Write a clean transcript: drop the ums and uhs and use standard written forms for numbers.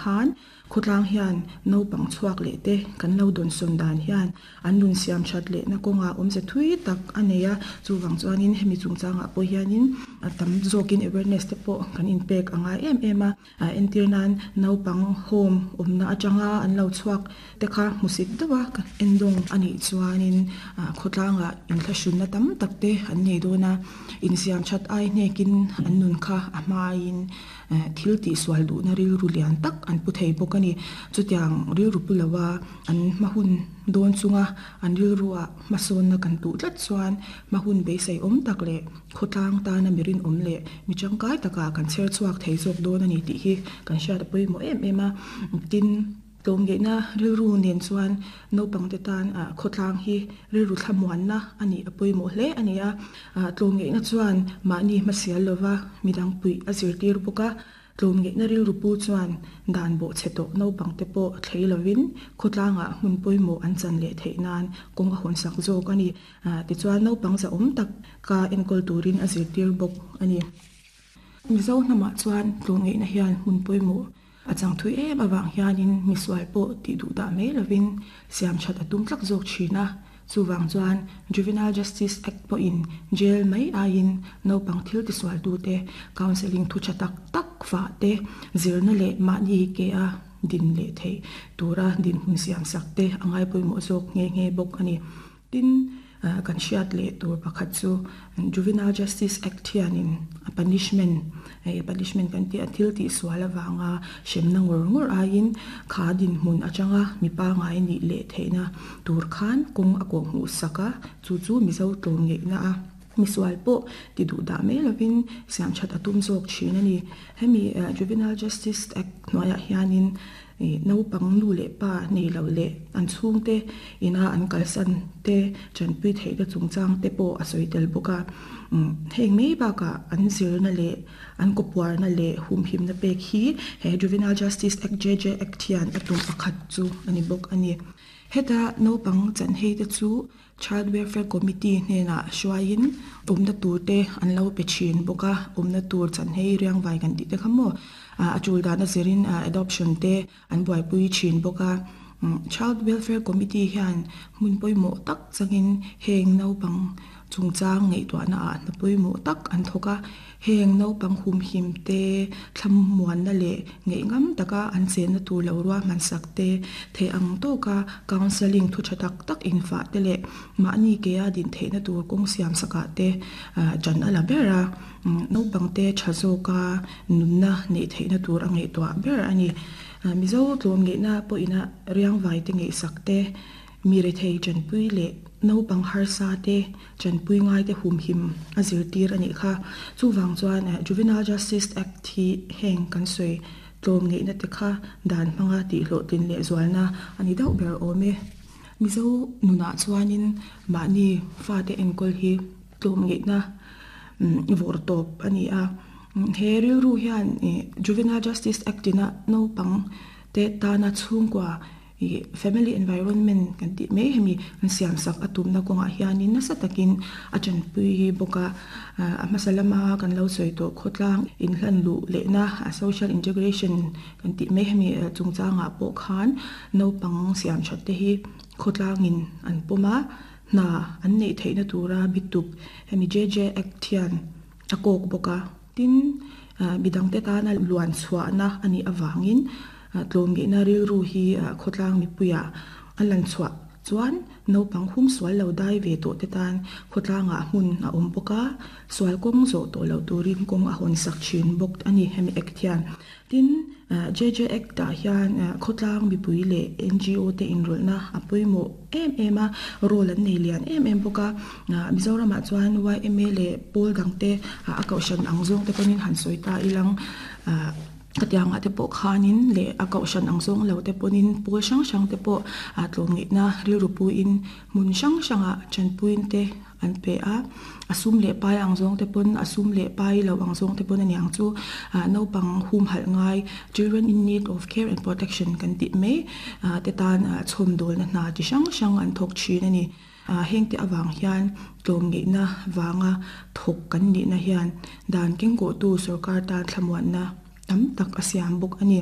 khan khawtlang hian naupang chhuak leh te kan lo dawnsawn dan hian an nun siam that lehna kawngah awmze thui tak a nei a, chuvang chuanin hemi chungchangah pawh hianin a tam zawkin awareness te pawh kan inpek a ngai em em a, entir nan naupang home awmna atanga an lo chhuak te kha hmusit deuh a endawng a nih chuanin khawtlangah inthlahrunna tam tak te an nei dawn a, insiam that ai hnekin an nun kha a hmain thil tihsual duhna rilru lian tak an pu thei bawk a ni. Chutiang rilru pu loa an hma hun dawn chunga an rilrua hmasawnna kan duh tlat chuan hma hun beisei awm tak leh khawtlang tana mi rinawm leh mi tangkai takah kan chher chhuak thei zawk dawn a ni tih hi kan hriat a pawimawh em em a. Tin, tlawmngeihna rilru nen chuan naupangte tan khawtlang hi rilru thlamuanna a nih a pawimawh hle a ni a. Tlawmngeihna chuan mahni hmasial lova midang puih a zirtir bawk a. Tlawmngeihna rilru pu chuan dan bawhchhe tawh naupangte pawh thlei lovin khawtlangah hmun pawimawh an chan leh theih nan kawng a hawnsak zawk a ni. Tichuan naupang zahawm tak ka enkawl turin a zirtir bawk a ni. Mizo hnamah chuan tlawmngeihna hian hmun pawimawh a chang thui em avang hianin misual pawh tih duh dah mai lovin siam that a tum tlak zawk thin a. Chuvang chuan Juvenile Justice Act pawhin jail mai aiin naupang thil tisualtute counselling thu tha tak tak fah te, zirna leh mahni ke a din leh theih tura dinhmun siamsak te a ngai pawimawh zawk nghe nghe bawk a ni. Tin, kan hriat leh tur pakhat chu Juvenile Justice Act hianin a punishment, punishment kan tih a thil tihsual avanga hremna ngawr ngawr aiin kha dinhmun atanga mi pangngai nih leh theihna tur khan kawng a kawhhmuh sak a, chu chu Mizo tlawmngeihna a misual pawh ti duh dah mai lovin siam that a tum zawk thin a ni. Hemi Juvenile Justice Act hnuaiah hianin Naupang nu leh pa nei lo leh an chhungte ina an kalsan te tanpui theihna chungchang te pawh a sawi tel bawk a. Heng mai bakah an zirna leh an kawpuarna leh humhimna pek hi he Juvenile Justice Act, JJ Act, hian a tum pakhat chu a ni bawk a ni. Heta naupang chanhei te chu Child Welfare Committee hnenah hruaiin awmna tur te an lo pe thin bawk a, awmna tur chanhei riangvai kan tih te kha maw a tul dan a zirin adoption te an buaipui thin bawk a. Child Welfare Committee hian hmun pawimawh tak changin heng naupang chungchang ngaihtuahna ah hna pawimawh tak an thawk a. Heng naupang humhim te, thlamuanna leh ngaihngam taka an chenna tur lo ruahmansak te, theih ang tawka counselling thu tha tak tak infah te leh mahni kea din theihna tur kawng siamsakah te ṭan a la ber a, naupangte tha zawka nunna neih theihna tur a ngaihtuah ber a ni. Mizo tlawmngeihna pawhina riangvai te ngaihsak te, Mi rethei chanpui leh naupang harsa te chanpui ngai te humhim a zirtir a nih kha. Chuvang chuan Juvenile Justice Act hi heng kan sawi tlawm ngeihna te kha dan hmanga tihhlawhtlin leh zualna a ni deuh ber awm e. Mizo nunah chuanin mahni fate enkawl hi tlawm ngeihna vawr tawp a ni a. He rilru hian Juvenile Justice Act ina naupang te tana chhungkua Ih family environment kan tih mai hemi an siam sak a tumna kawngah hianin nasa takin a tanpui bawk a, a hmasa lama kan lo sawi tawh khawtlang inhlan luh lehna social integration kan tih mai hemi chungchangah pawh khan naupang siam that te hi khawtlangin an pawm a, hna an neih theihna tura bituk hemi JJ Act hian a kawk bawk a, tin midangte tana luan chhuahna a nih avangin tlawmngeihna rilru hi khawtlang mipuiah a lan chhuah chuan naupang hum sual lo dai ve tawh te tan khawtlangah hmun a awm bawk a, sual kawng zawh tawh loh turin kawng a hawn sak thin bawk a ni hemi act hian. Tin, JJ Act ah hian khawtlang mipui leh NGO te inrawlhna a pawimawh em em a, role an nei lian em em bawk a. Mizoramah chuan yma leh pawl dangte a kohhran ang zawng te pawhin han sawi ta ilang khatiangah te pawh khanin leh a kohhran ang zawng lo te pawhin pawl hrang hrang te pawh tlawmngeihna rilru puiin hmun hrang hrangah tanpuiin te an pe a, a sum leh pai ang zawng te pawn a sum leh pai lo ang zawng te pawn a niang chu naupang humhalh ngai children in need of care and protection kan tih mai te tan chhawmdawlna hna chi hrang hrang an thawk thin a ni. Hengte avang hian tlawmngeihna vanga thawk kan nihna hian dan kengkawhtu sorkar tan thlamuanna tam tak a siam bawk a ni.